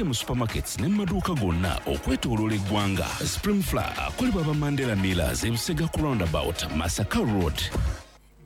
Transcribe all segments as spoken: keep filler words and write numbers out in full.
Mu supermarkets ne mu maduuka gonna okwetooloola eggwanga. Supreme Flour akolebwa ba Mandela Millers, Ebusega ku roundabout, Masaka Road.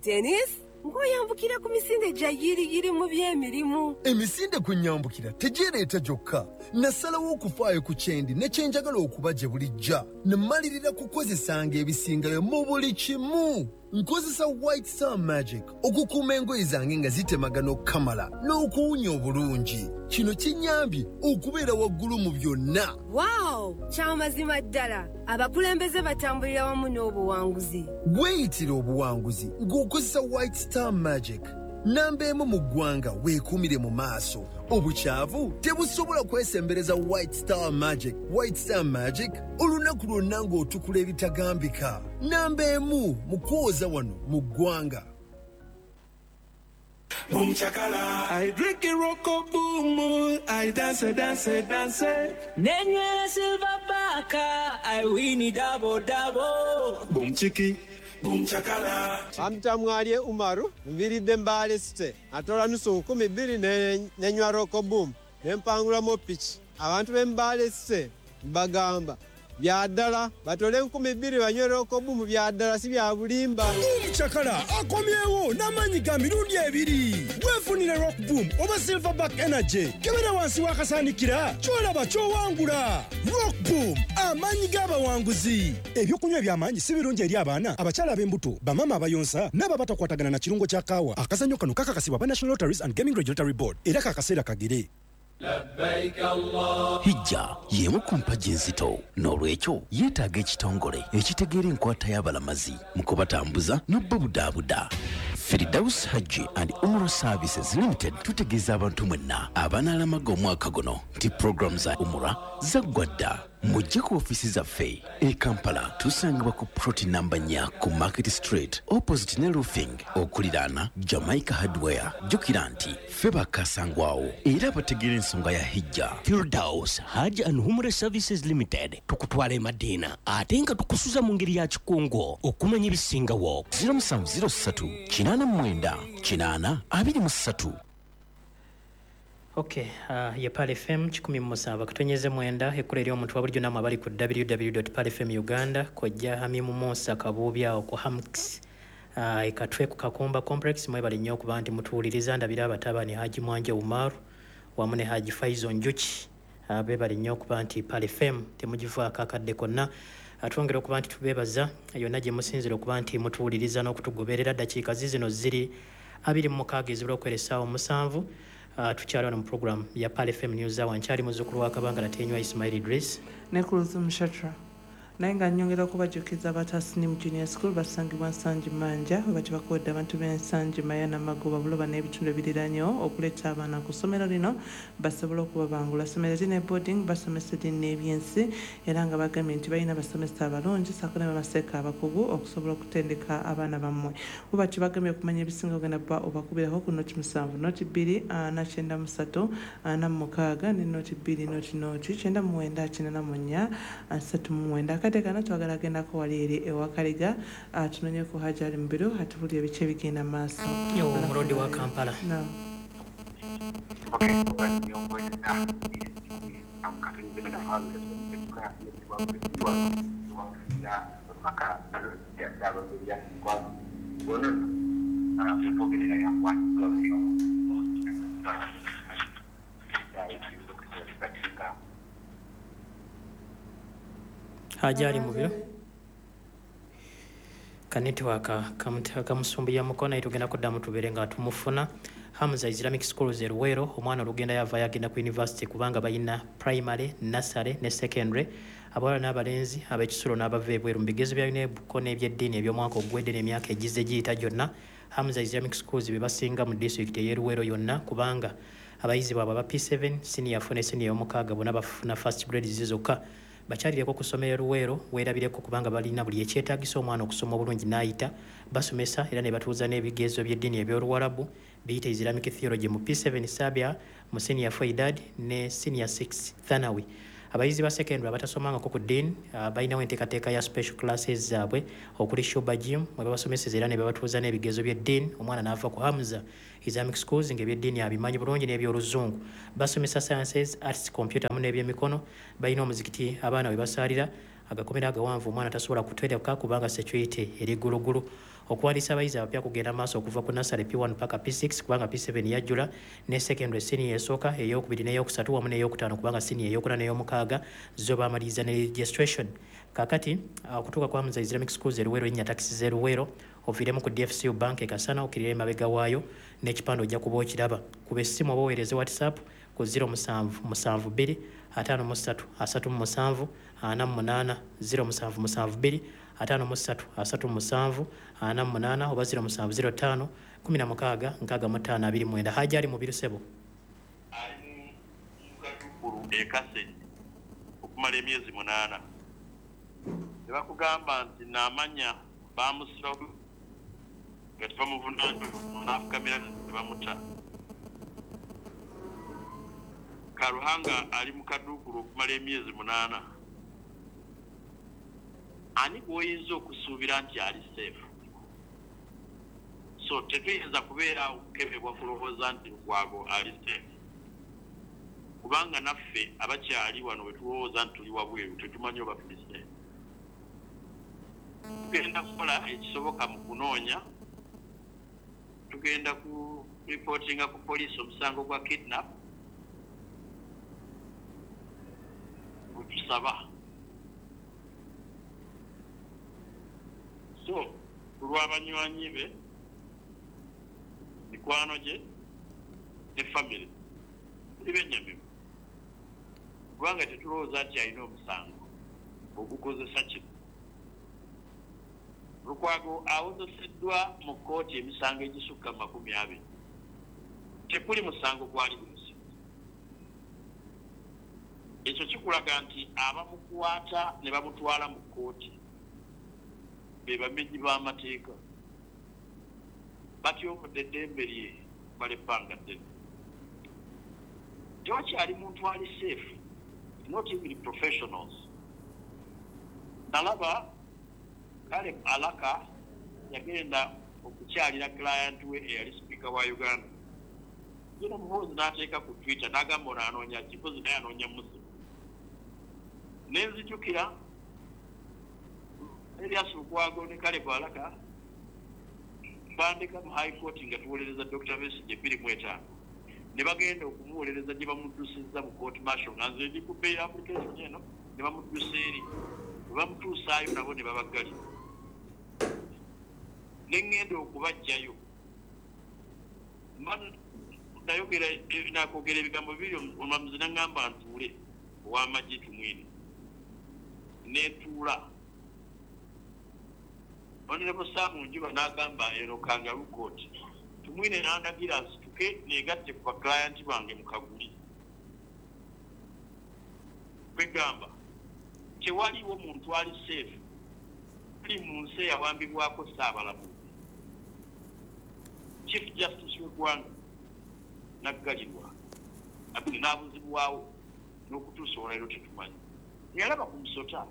Denis, ng'oyambukira ku misinde gya yiriyiri mu by'emirimu. Emisinde kwe nyambukira tegyereeta gyokka. Nasalawo okufaayo ku kyendi ne kyenjagala okuba gye bulijja, ne mmalirira kukozesanga ebisingayo mu buli kimu. Nkozesa White Star Magic okukuuma engoye zange nga zitemagana okukamala n'okuwunya obulungi. Kino kinnyambye okubeera waggulu mu byonna. Waawo, kyamazima ddala, abakulembeze batambulira wamu n'obuwanguzi. Weeyitira obuwanguzi ng'okozesa White Star Magic. Namba emu mu ggwanga, weekuumire mu maaso. Obukyavu tebusobola kwesembereza White Star Magic. White Star Magic, olunaku lwonna ng'otukula ebitagambika. Namba emu mu kwoza wano mu ggwanga. Boom chakala. I drink it roko boom. I dance, dance, dance. Nenywera Silver Baka, I win double double. Boom chiki. Boom chakala. Bampita Mwalye Umaru, nviiridde Mbale City. Atola nusu nkumi bbiri ne- nenywa Rock Boom, ne mpangulamu piki. Abantu b'e Mbale City mbagamba bya ddala, batole enkumi bbiri banywe Rock Boom, bya ddala, si bya bulimba. Cakala akomyewo n'amaanyi ga mirundi ebiri. Weefunire Rock Boom oba Silverback Energy. Kebera wansi w'akasaanikira, kyolaba ky'owangula. Rock Boom, amaanyi g'abawanguzi. Ebyokunywa eby'amaanyi si birungi eri abaana, abakyala ab'embuto, bamaama abayonsa n'abo abatakwatagana na kirungo kya kaawa. Akazannyo kano kakakasibwa aba National Lotteries and Gaming Regulatory Board, era kakaseera kagere. Hijja y'emu ku mpagi enzito, n'olwekyo yeetaaga ekitongole ekitegeera enkwata y'abalamazi mu kubatambuza n'obbabudaabuda. Firdaus Hajji and Umrah Services Limited tutegeeza abantu mwenna abanaalamaga omwaka guno nti puroguramu za umura zaggwa dda. Mujje ku ofiisi zaffe e Kampala, tusangibwa ku plot namba nnya ku Market Street, opposite ne Roofing, okuliraana Jamaica Hardware. Jjukira nti ffe bakasangwawo era abategeera ensonga ya hijja. Firdaus Hajj and Umrah Services Limited, tukutwala e Madiina ate nga tukusuza mu ngeri ya kikungo. Okumanya ebisingawo, zero seven zero three eight nine eight eight two three. Ok, uh, ye Pearl F M kikumi mu musanvu akatonyeze mwenda, ekkula eri omuntu wa bulijjo. Nammwe abali ku W W W dot pearl F M Uganda, kojja Hamimu Musa Kabuubi awo ku Hamx uh, ekatwe ku Kakumba Complex, mwebale nnyo okuba nti mutuwuliriza. Ndabira abatabani Haji Mwanje Umaru wamu ne Haji Faizo Njuki, uh, beebale nnyo okuba nti Pearl F M temugivaako akadde konna. Twongera okuba nti tubeebaza yonna gye musinzira okuba nti mutuwuliriza n'okutugoberera. Ddakiika zizino ziri abiri mu mukaaga ezibula okwera essaawa omusanvu. Uh, tukyali wano mu program ya Pearl F M News Hour. Nkyali muzzukulu wa Kabanga Latenywa Ismail Idris. Ne Kuluzum Shatra. Naye nga nnyongera okubajjukiza abatasinimu Junior School basangibwa Nsangi Manja, we bati bakoledde abantu b'Ensangi, Maya, Namagoba, Buloba n'ebitundu ebiriranyewo okuleeta abaana ku ssomero lino basobole okubabangula. Ssomero liri ne boarding, basomesa eddiini n'ebyensi, era nga bagambye nti balina abasomesa abalungi ssaako ne bamaseeka abakugu okusobola okutendeka abaana bammwe. We bati bagambye okumanya ebisinga ogenda bba obakubirako ku nought musanvu nought bbiri ana kyenda mu ssatu ana mu mukaaga ne nought bbiri nought nought kyenda mu mwenda kyenda na mu nnya asatu mu mwenda. Akadde kano twagala agendako wali eri ewakaliga, tunonyeko Hajji Ali Mubiru atubulire ebiki ebigenda mu maaso. Omulodi wa Kampala. Naam. Hajji Ali Mubiru, ka network kamusumbuya mukono, naye tugenda kuddamu tubeere nga tumufuna. Hamza Islamic Schools e Luweero, omwana olugenda yavayo agenda ku university kubanga balina primary, nursery ne secondary. Abawala n'abalenzi, ab'ekisulo n'abava ebweru mu bigezo bya UNEB ko n'ebyeddiini eby'omwaka oguwedde n'emyaka egizze giyita gyonna, Hamza Islamic Schools be basinga mu disitulikiti ey'e Luweero yonna, kubanga abayizi baabwe aba P seven, senior four ne senior y'omukaaga bonna bafuna first grades zokka. Bakyalireko ku ssomero e Luweero, weerabireko, kubanga balina buli ekyetaagisa omwana okusoma obulungi n'ayita. Basomesa era ne batuuza n'ebigezo by'eddiini eby'Oluwarabu biyita Islamic Theology mu P seven, Sabia, mu senior four Idadi ne senior six Thanawi. Abayizi ba secondary abatasomangako ku ddiini uh, balinawo enteekateeka ya special classes zaabwe okuli Shuba Gym mwe babasomeseza era ne babatuuza n'ebigezo by'eddiini, omwana n'ava ku Hamza Islamic Schools ng'ebyeddiini abimanyi bulungi n'ebyoluzungu. Basomesa sciences, arts, computer wamu n'ebyemikono. Balina omuzikiti abaana we basaalira, agakomera agawanvu omwana tasobola kutereka kubanga security eri ggulugulu. Okuwandiisa abayizi abapya kugenda maaso okuva ku nursery P one paka P six kubanga P seven yajjula, ne secondary senior esooka, eyokubiri n'eyokusatu wamu n'eyokutaano kubanga senior eyokuna n'eyomukaaga zo baamaliriza ne registration. Kaakati okutuuka kwa Hamza Islamic Schools e Luweero, linnya takisi z'e Luweero, oviiremu ku D F C U Bank e Kasana, okkirire emabega waayo n'ekipande ojja kuba okiraba. Kuba essimu oba oweereze WhatsApp ku zero musanvu musanvu bbiri ataano mu ssatu asatu mu musanvu ana mu munaana zero musanvu musanvu bbiri ataano mu ssatu asatu mu musanvu ana mu munaana oba zero musanvu zero ttaano kumi na mukaaga nkaaga mu ttaano abiri mwenda. Haji ali Mubiru ssebo. Ali mu Katukulu e Kasenyi okumala emyezi munaana. Ne bakugamba nti naamanya baamusiba nga tebamuvunaana n'afukamira ne bamuta. Karuhanga ali mu Kaduukulu okumala emyezi munaana. Ani gw'oyinza okusuubira nti ali safe? So tetuyinza kubeera okukebebwa kulowooza nti Lukwago ali safe, kubanga naffe abakyali wano bwe tulowooza nti tuli wabweru tetumanyi oba tuli safe. Tugenda kukola ekisoboka mu kunoonya, tugenda ku reportinga ku poliisi omusango gwa kidnap gutusaba. So kulw'abanywanyi be, mikwano gye ne family tuli bennyamivu kubanga tetulowooza nti alina omusango ogukozesa kino. Lukwago awozeseddwa mu kkooti emisango egisukka makumi abiri, tekuli musango gwali gumusiba. Ekyo kikulaga nti abamukwata ne bamutwala mu kkooti be bamenyi b'amateeka, batyobodde eddembe lye bala ebbanga ddene. Tewakyali muntu ali safe, not even professionals. Nalaba Caleb Alaka yagenda okukyalira client we eyali sipiika wa Uganda. Yena Muhoozi n'ateeka ku Twitter n'agamba ono anoonya ki, Muhoozi naye anoonya Muslim. Ne nzijukira Erias Lukwago ne Caleb Alaka bandeka mu High Court nga tuwolereza Doctor Besigye bbiri mu etaano. Ne bagenda okumuwolereza gye bamuddusizza mu court martial nga nze ndi ku bail application eno, ne bamuddusa eri. Bwe bamutuusaayo nabo ne babaggalira. Ne ŋŋenda okubaggyayo. Nayogera nakwogera ebigambo bibiri, omulamuzi n'aŋŋamba ntuule ow'amagye Tumwine. Ne ntuula. Honorable Sam Njuba n'agamba eno kangaroo court. Tumwine n'andagira nsituke neegatte ku baklayenti bange mu kaguli. Kwegamba tewaliwo muntu ali safe tuli mu nsi eyawambibwako Ssaabalamuzi. Chief Justice w'eggwanga n'aggalirwa n'abuzibwawo n'okutuusa olwaleero tetumanyi. Yalaba ku musota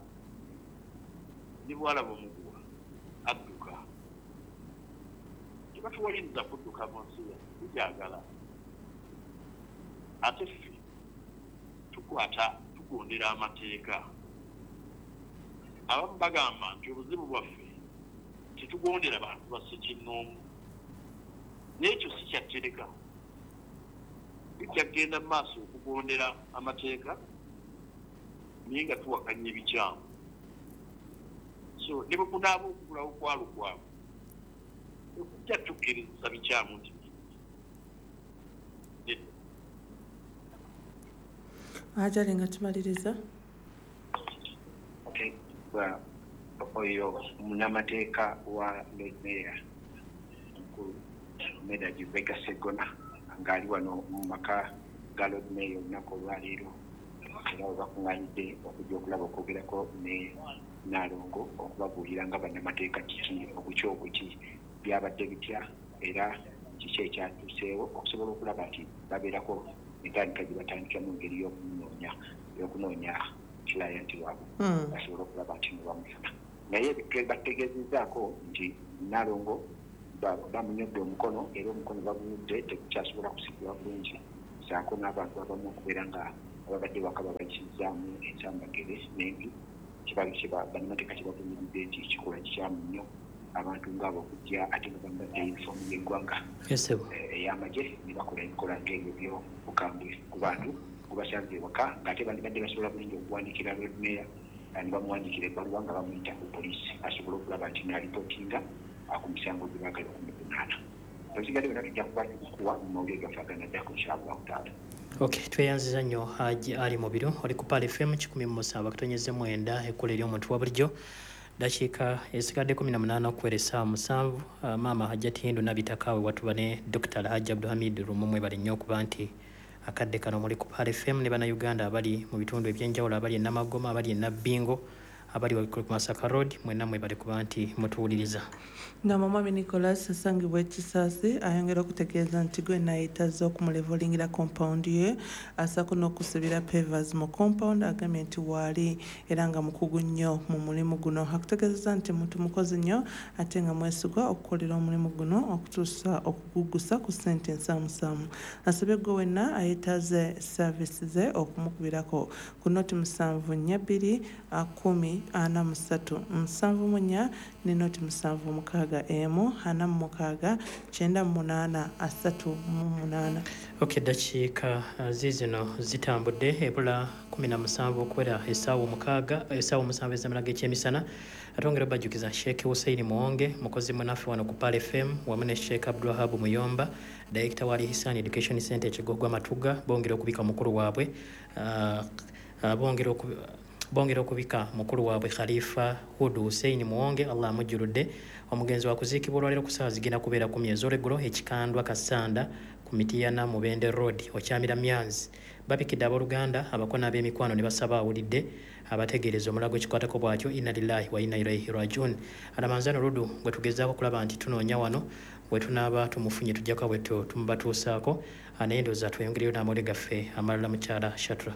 ne bw'alaba omuguwa adduka. Tebatuwaliriza kudduka mu nsi yaffe, tugyagala. Ate ffe tukwata tugondera amateeka. Abamu bagamba nti obuzibu bwaffe tetugondera bantu ba ssekinnoomu, n'ekyo si kyattereka. Tujja kugenda mu maaso okugondera amateeka naye nga tuwakanya ebikyamu. So ne bwe kunaaba okugulawo kwa Lukwago tekujja tukkiriza bikyamu nti nedda. Ajali nga tumaliriza. Okay. Oyo munnamateeka wa Lord Mayor omukulu Medard Lubega Sseggona ng'ali wano mu maka ga Lord Mayor olunaku olwaleero, era we bakuŋŋaanidde okujja okulaba okwogerako ne Nnaalongo okubabuulira nga bannamateeka kiki obuki obuki byabadde bitya era kiki ekyatuuseewo okusobola okulaba nti babeerako Entandika gye batandika mu ngeri y'okunoonya y'okunoonya client waabwe basobole okulaba nti no bamufuna. Naye bategeezezzaako nti Nalongo bamunyodde omukono, era omukono bagunyodde tekukyasobola kusigula bulungi, ssaako n'abantu abamu okubeera nga ababadde waka babayisizaamu ensambagere n'embi. Bannamateeka kyebavumiridde nti kikolwa kikyamu nnyo abantu ngaabo okujja ate nga bambadde yunifoomu y'eggwanga ey'amagye ne bakola ebikola ng'ebyo by'obukambwe ku bantu gubasanze ewaka, ng'ate bandibadde basobola bulungi okuwandiikira Lord Mayor ne bamuwandiikira ebbaluwa nga bamuyita ku poliisi asobole okulaba nti n'alipootinga ku misango gye baagala okumuvunaana. Ebisigadde byonna tujja kuba tubikuwa mu mawulire gaffe aganaddako inshallahu taala. Okay, tweyanziza nnyo Haji Ali Mubiru oli ku Pearl F M kikumi mu musanvu akatonyeze mwenda ekkola ery'omuntu wa bulijjo. Dakiika esigadde kumi na munaana okuwera essaawa musanvu. Uh, maama Hajjati Hindu Nabitakawe watuba ne Doctor Alhaji Abdulhamid Lumu, mwebale nnyo okuba nti akadde kano muli ku Pearl F M ne Bannayuganda abali mu bitundu ebyenjawulo, abali e Namagoma, abali e Nabbingo, abali ku Masaka Road, mwenna mwebale kuba nti mutuwuliriza. Nga Mwami Nicholas asangibwa e Kisaasi ayongera okutegeeza nti gwe naayitazza okumulevolingira compound ye asaako n'okusibira pavers mu compound, agambye nti waali era nga mukugu nnyo mu mulimu guno. Akutegeezezza nti muntu mukozi nnyo ate nga mwesigwa okukolera omulimu guno okutuusa okugugusa ku ssente ensaamusaamu. Asabye gwe wenna ayetaaze service ze okumukubirako ku noti musanvu nnya bbiri kumi ana mu ssatu musanvu mu nnya ne noti musanvu mukaaga emu ana mu mukaaga kyenda mu munaana asatu mu munaana. Okay, dakiika ziizino zitambudde ebula kumi na musanvu okuwera essaawa omukaaga essaawa omusanvu ez'amala g'ekyemisana. Atwongera obajjukiza Sheikh Hussein Muwonge mukozi munnaffe wano ku Pearl F M wamu ne Sheikh Abdulwahab Muyomba, Director wa Al-Ihsan Education Center e Kigogwa Matuga, bongera okubika mukulu waabwe uh, uh, bongera bongera okubika mukulu waabwe Khalifa Hudu Hussein Muwonge, Allah amujjuludde. Omugenzi wa kuziikibwa olwaleero ku ssaawa zigenda kubeera kumi ez'olweggulo e Kikandwa Kasanda ku Mitiyana Mubende Road okyamira Myanzi. Babikidde abooluganda abakona ab'emikwano ne basaba awulidde abategeereza omulago ekikwatako bw'atyo, inna lillahi wa inna ilaihi rajiun. Alamanzano Ludu gwe tugezaako okulaba nti tunoonya wano we tunaaba tumufunye tujjako bwe tumubatuusaako, naye ndowooza tweyongereyo n'amawulire gaffe amalala mukyala Shatra.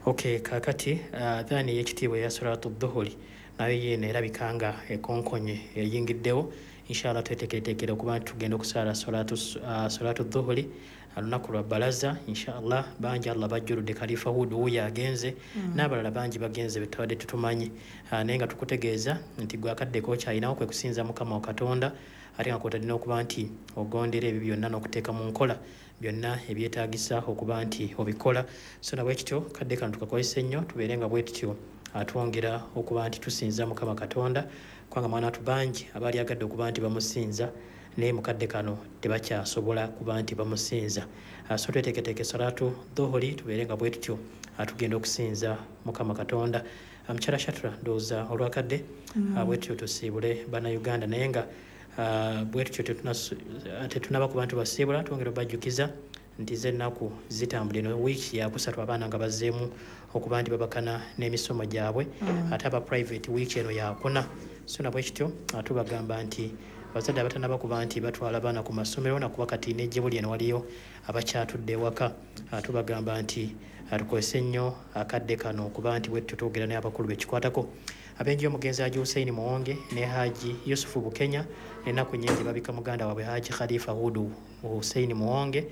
Okay, kaakati adhaani ey'ekitiibwa eya Salatu Dhuhuri nayo yeeno erabika nga ekonkonye eyingiddewo. Inshallah tweteekereteekere okuba nti tugenda okusaala Salatu uh, Dhuhuri olunaku lwa balaza inshallah. Bangi Allah bajjuludde, Khalifa Hudu wuuyo agenze mm. n'abalala bangi bagenze betutabadde tutumanyi, uh, naye nga tukutegeeza nti gwe akaddeko okyalinawo kwe kusinza Mukama wa Katonda, ate nga kwotadde n'okuba nti ogondera ebyo byonna n'okuteeka mu nkola byonna ebyetaagisa okuba nti obikola. So na bwe kityo kadde kano tukakozesa ennyo tubeere nga bwe tutyo atwongera okuba nti tusinza Mukama Katonda, kubanga mwana watu bangi abaali agadde okuba nti bamusinza naye mukadde kano tebakyasobola kuba nti bamusinza. So tweteeketeeke Salatu Dhuhuri tubeere nga bwe tutyo atugenda okusinza Mukama Katonda. Mukyala Shatra, ndowooza olwakadde mm. bwe tutyo tusiibule Bannayuganda, naye nga bwe tutyo tetunaba kuba nti basiibula, twongera obajjukiza nti z'ennaku zitambula eno wiiki yakusatu abaana nga bazzeemu okuba nti babakana n'emisomo gyabwe mm. ate aba private wiiki eno yakuna. So na bwe kityo tubagamba nti abazadde abatanaba kuba nti batwala abaana ku masomero nakuba kati n'ejjebuli eno waliyo abakyatudde ewaka, tubagamba nti tukozese nnyo akadde kano okuba nti bwe tutyo twogera n'abakulu bekikwatako. Abenji omugenzi Haji Hussein Muwonge ne Haji Yusufu Bukenya ennaku nnyingi babika muganda waabwe Haji Khalifa Hudu Hussein Muwonge,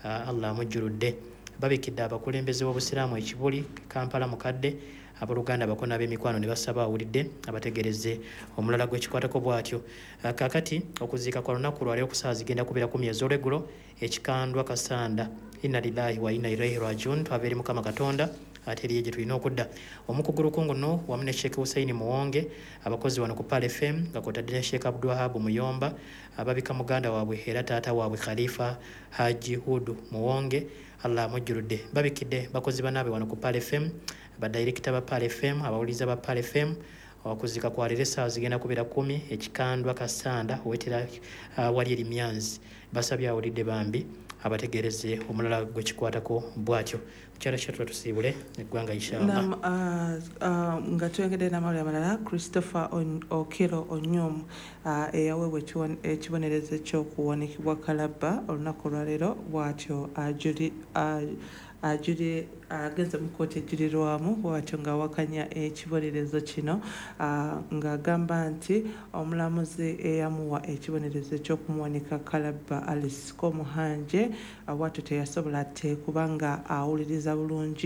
uh, Allah amujjuludde. Babikidde abakulembeze b'Obusiraamu e Kibuli, Kampala mukadde, abooluganda abakona ab'emikwano ne basaba awulidde abategereze omulala gw'ekikwatako bw'atyo. Uh, kaakati okuziika kwa lunaku lwaleero ku ssaawa zigenda kubeera kumi ez'olweggulo e Kikandwa Kasanda. Inna lillahi wa inna ilaihi rajiun, twava eri Mukama Katonda ate eriyo gye tulina okudda. Omukugu Lukunguno wamu ne Sheikh Hussein Muwonge abakozi wano ku Pearl F M nga kwotadde ne Sheikh Abdulwahab Muyomba ababika muganda waabwe era taata waabwe Khalifa Haji Hudu Muwonge, Allah amujjuludde. Babikidde bakozi bannaabwe wano ku Pearl F M, badayirekita ba Pearl F M, abawuliriza ba Pearl F M. Okuziika kwa leero essaawa zigenda kubeera kumi e Kikandwa Kasanda owetera uh, wali eri Myanzi. Basabye awulidde bambi Abategereze omulala gwe kikwatako bw'atyo. Mukyala Shatula, tusiibule eggwanga inshallah. Nam, uh, uh, nga tuyongedde n'amawulire amalala, Christopher On- Okello Onyum uh, eyaweebwa ekiwon- ekibonerezo ekyokuwanikibwa kalabba olunaku olwaleero bw'atyo ajuli uh, ajuli agenze mu kkooti ejulirwamu bw'atyo ng'awakanya ekibonerezo kino, uh, ng'agamba nti omulamuzi eyamuwa ekibonerezo ekyokumuwanika kalabba, Alice Komuhangi, uh, bw'atyo teyasobola te kubanga awuliriza bulungi.